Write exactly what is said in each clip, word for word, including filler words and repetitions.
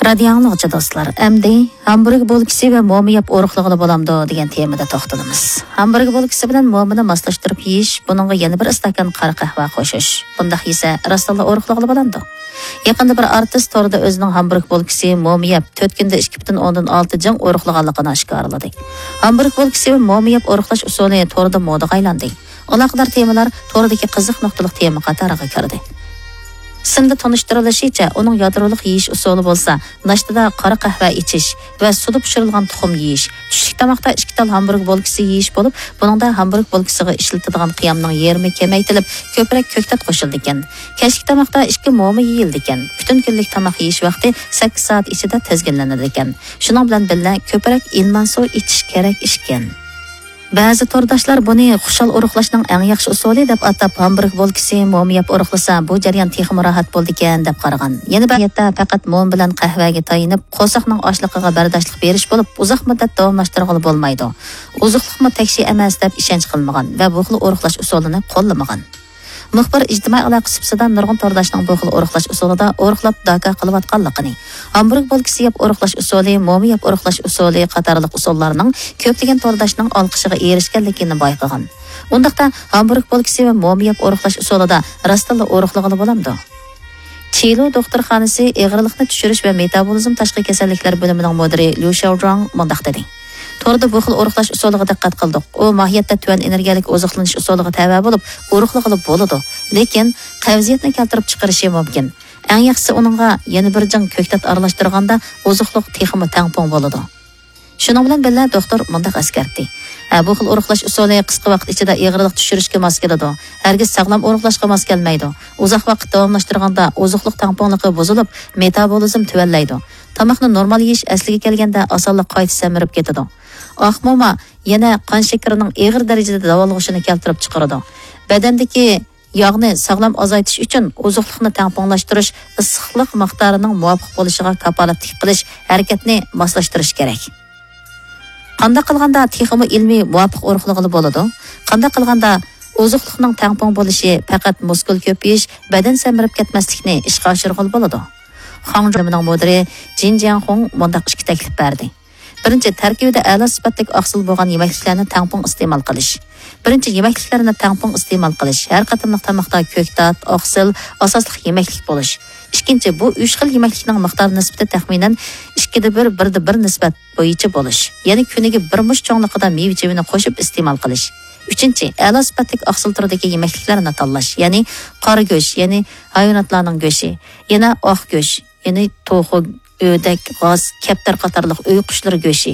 رادىيو ئاڭلىغۇچى دوستلار، ئەمدى ھامبۇرگ بولكىسى ۋە موما يەپ ئورۇقلىغىلى بولامدۇ دېگەن تېمىدا توختىلىمىز. ھامبۇرگ بولكىسى بىلەن مومىنى ماسلاشتۇرۇپ يېيىش، بۇنىڭغا يەنە بىر ئىستاكان قارا قەھۋە قوشۇش. بۇنداق يېسە راستتىنلا ئورۇقلىغىلى بولامدۇ؟ يېقىندا بىر ئارتىس توردا ئۆزىنىڭ ھامبۇرگ بولكىسى، موما يەپ تۆت كۈندە ئىككى پۈتۈن ئوندىن ئالتە جىڭ ئورۇقلىغانلىقىنى ئاشكارىلىدى. ھامبۇرگ بولكىسى ۋە موما يەپ ئورۇقلاش ئۇسۇلى توردا مودىغا ئايلاندى. ئالاقىدار تېمىلار توردىكى قىزىق نۇقتىلىق تېما قاتارىغا كىردى. سىندا تونۇشتۇرۇلۇشىچە، ئۇنىڭ يادرولۇق يېيىش ئۇسۇلى بولسا، ناشتىدا قارا قەھۋە ئىچىش ۋە سۇدا پىشۇرۇلغان تۇخۇم يېيىش، چۈشلۈك تاماقتا ئىككى تال ھامبۇرگ بولكىسى يېيىش بولۇپ، بۇنىڭدا ھامبۇرگ بولكىسىغا ئىشلىتىدىغان قىيامنىڭ يېرىمى كېمەيتىلىپ، كۆپرەك كۆكتات قوشۇلىدىكەن. كەچلىك تاماقتا ئىككى موما يېيىلىدىكەن. پۈتۈن كۈنلۈك تاماق يېيىش ۋاقتى سەككىز سائەت ئىچىدە تىزگىنلىنىدىكەن. شۇنىڭ بىلەن بىللە، كۆپرەك ئىلمان سۇ ئىچىش كېرەك ئىكەن. بەزى تورداشلار بۇنى خۇشال ئورۇقلاشنىڭ ئەڭ ياخشى ئۇسۇلى دەپ ئاتاپ، ھامبۇرگ بولكىسى، موما يەپ ئورۇقلىسا، بۇ جەريان تېخىمۇ راھەت بولىدىكەن دەپ قارىغان. يەنە بىر نىيەتتە پەقەت موما بىلەن قەھۋەگە تايىنىپ، قورساقنىڭ ئاچلىقىغا بەرداشلىق بېرىش بولۇپ، ئۇزاق مۇددەت داۋاملاشتۇرغىلى بولمايدۇ. ئوزۇقلۇقمۇ تەكشى ئەمەس دەپ ئىشەنچ قىلمىغان ۋە بۇ خىل ئورۇقلاش ئۇسۇلىنى قوللىمىغان. مۇخبىر ئىجتىمائىي ئالاقە سۇپىسىدا نۇرغۇن تورداشنىڭ بۇ خىل ئورۇقلاش ئۇسۇلىدا ئورۇقلاپ داكا قىلىۋاتقانلىقىنى، ھامبۇرگ بولكىسى يەپ ئورۇقلاش ئۇسۇلى، موما يەپ ئورۇقلاش ئۇسۇلى قاتارلىق ئۇسۇللارنىڭ كۆپلىگەن تورداشنىڭ ئالقىشىغا ئېرىشكەنلىكىنى بايقىغان. ئۇنداقتا، ھامبۇرگ بولكىسى ۋە موما يەپ ئورۇقلاش ئۇسۇلىدا راستتىنلا ئورۇقلىغىلى بولامدۇ؟ چىلۇ دوختۇرخانىسى ئېغىرلىقنى چۈشۈرۈش ۋە مېتابولىزم تاشقى كېسەللىكلەر بۆلۈمىنىڭ مۇدىرى ليۇ شياۋجۇاڭ مۇنداق دېدى. توردا بۇ خىل ئورۇقلاش ئۇسۇلىغا دىققەت قىلدۇق. ئۇ ماھىيەتتە تۆۋەن ئېنېرگىيەلىك ئوزۇقلىنىش ئۇسۇلىغا تەۋە بولۇپ، ئورۇقلىغىلى بولىدۇ. لېكىن، قەۋزىيەتنى كەلتۈرۈپ چىقىرىشى مۇمكىن. ئەڭ ياخشىسى ئۇنىڭغا يەنە بىر جىڭ كۆكتات ئارىلاشتۇرغاندا ئوزۇقلۇق تېخىمۇ تەڭپۇڭ بولىدۇ. شۇنىڭ بىلەن بىللە، دوختۇر مۇنداق ئەسكەرتتى: ھە، بۇ خىل ئورۇقلاش ئۇسۇلى قىسقا ۋاقىت ئىچىدە ئېغىرلىق چۈشۈرۈشكە ماس كېلىدۇ. ھەرگىز ساغلام ئورۇقلاشقا ماس كەلمەيدۇ. ئۇزاق ۋاقىت داۋاملاشتۇرغاندا ئوزۇقلۇق تەڭپۇڭلۇقى بۇزۇلۇپ، مېتابولىزم تۆۋەنلەيدۇ. تاماقنى نورمال يېيىش ئەسلىگە كەلگەندە ئاسانلا قايتا سەمرىپ كېتىدۇ. ئاق موما يەنە قان شېكىرىنىڭ ئېغىر دەرىجىدە داۋالغۇشىنى كەلتۈرۈپ چىقىرىدۇ. بەدەندىكى ياغنى ساغلام ئازايتىش ئۈچۈن ئوزۇقلۇقنى تەڭپۇڭلاشتۇرۇش، ئىسسىقلىق مىقدارىنىڭ مۇۋاپىق بولۇشىغا كاپالەتلىك قىلىش ھەرىكەتنى ماسلاشتۇرۇش كېرەك. قانداق قىلغاندا تېخىمۇ ئىلمىي مۇۋاپىق ئورۇقلىغىلى بولىدۇ؟ قانداق قىلغاندا ئوزۇقلۇقنىڭ تەڭپۇڭ بولۇشى پەقەت مۇسكۇل كۆپىيىش، بەدەن سەمرىپ كەتمەسلىكنى ئىشقا ئاشۇرغىلى بولىدۇ؟ خاڭجۇ بۆلۈمىنىڭ مۇدىرى جىن جياڭخۇڭ مۇنداق ئىككى تەكلىپ بەردى. بىرىنچى، تەركىبىدە ئەلا سۈپەتلىك ئاقسىل بولغان يېمەكلىكلەرنى تەڭپۇڭ ئىستېمال قىلىش. بىرىنچى، يېمەكلىكلەرنى تەڭپۇڭ ئىستېمال قىلىش. ھەر قېتىملىق تاماقتا كۆكتات، ئاقسىل ئاساسلىق يېمەكلىك بولۇش. ئىككىنچى، بۇ ئۈچ خىل يېمەكلىكنىڭ مىقدار نىسبىتى تەخمىنەن ئىككىدە بىر، بىردە بىر نىسبەت بويىچە بولۇش. يەنى كۈنىگە بىر مۇشت چوڭلۇقىدا مېۋە-چېۋىنى قوشۇپ ئىستېمال قىلىش. ئۈچىنچى، ئەلا سۈپەتلىك ئاقسىل تۈرىدىكى يېمەكلىكلەرنى تاللاش. يەنى قارا گۆش، يەنى ھايۋاناتلارنىڭ گۆشى، يەنە ئاق گۆش، يەنى توخۇ، ئۆدەك، غاز، كەپتەر قاتارلىق ئۆي قۇشلىرى گۆشى،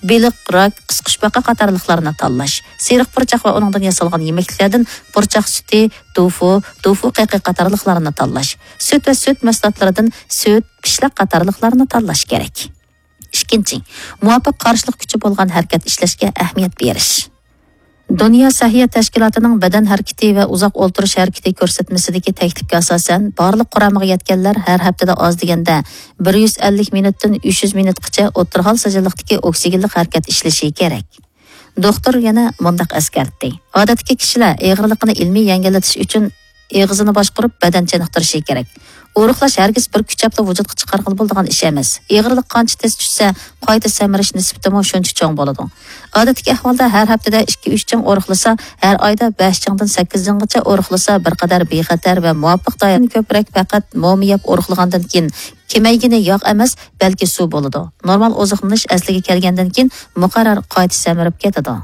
بېلىق، راك، قىسقۇچپاقا قاتارلىقلارنى تاللاش. سېرىق پۇرچاق ۋە ئۇنىڭدىن ياسالغان يېمەكلىكلەردىن پۇرچاق سۈتى، دوفۇ، دوفۇ قېقى قاتارلىقلارنى تاللاش. سۈت ۋە سۈت مەھسۇلاتلىرىدىن سۈت، پىشلاق قاتارلىقلارنى تاللاش كېرەك. ئىككىنچى، مۇۋاپىق قارشىلىق كۈچى بولغان ھەرىكەت ئىشلەشكە ئەھمىيەت بېرىش. دۇنيا سەھىيە تەشكىلاتىنىڭ بەدەن ھەرىكىتى ۋە ئۇزاق ئولتۇرۇش ھەرىكىتى كۆرسەتمىسىدىكى تەكلىپكە ئاساسەن، بارلىق قۇرامىغا يەتكەنلەر ھەر ھەپتىدە ئاز دېگەندە بىر يۈز ئەللىك مىنۇتتىن ئۈچ يۈز مىنۇتقىچە ئوتتۇرا ھال سىجىللىقتىكى ئوكسىگېنلىق ھەرىكەت ئىشلىشى كېرەك. دوختۇر يەنە مۇنداق ئەسكەرتتى: ئادەتتىكى كىشىلەر ئېغىرلىقىنى ئىلمىي يەڭگىللىتىش ئۈچۈن ئېغىزىنى باشقۇرۇپ، بەدەن چېنىقتۇرۇشى كېرەك. ئورۇقلاش ھەرگىز بىر كۈچەپلا ۋۇجۇدقا چىقارغىلى بولىدىغان ئىش ئەمەس. ئېغىرلىق قانچە تېز چۈشسە، قايتا سەمرىش نىسبىتىمۇ شۇنچە چوڭ بولىدۇ. ئادەتتىكى ئەھۋالدا ھەر ھەپتىدە ئىككى ئۈچ جىڭ ئورۇقلىسا، ھەر ئايدا بەش جىڭدىن سەككىز جىڭغىچە ئورۇقلىسا، بىر قەدەر بىخەتەر ۋە مۇۋاپىق دائىرىدىن كۆپرەك پەقەت موما يەپ ئورۇقلىغاندىن كېيىن، كېمەيگىنى ياغ ئەمەس، بەلكى سۇ بولىدۇ. نورمال ئوزۇقلىنىش ئەسلىگە كەلگەندىن كېيىن، مۇقەررەر قايتا سەمرىپ كېتىدۇ.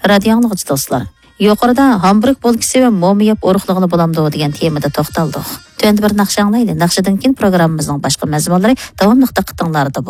رادىيو ئاڭلىغۇچى دوستلار، يۇقىرىدا ھامبۇرگ بولكىسى ۋە موما يەپ ئورۇقلىغىلى بولامدۇ دېگەن تېمىدا توختالدۇق. تۆۋەندە بىر ناخشا ئاڭلايلى. ناخشىدىن كېيىن پروگراممىمىزنىڭ باشقا مەزمۇنلىرى داۋاملىق دىققىتىڭلاردا بولىدۇ.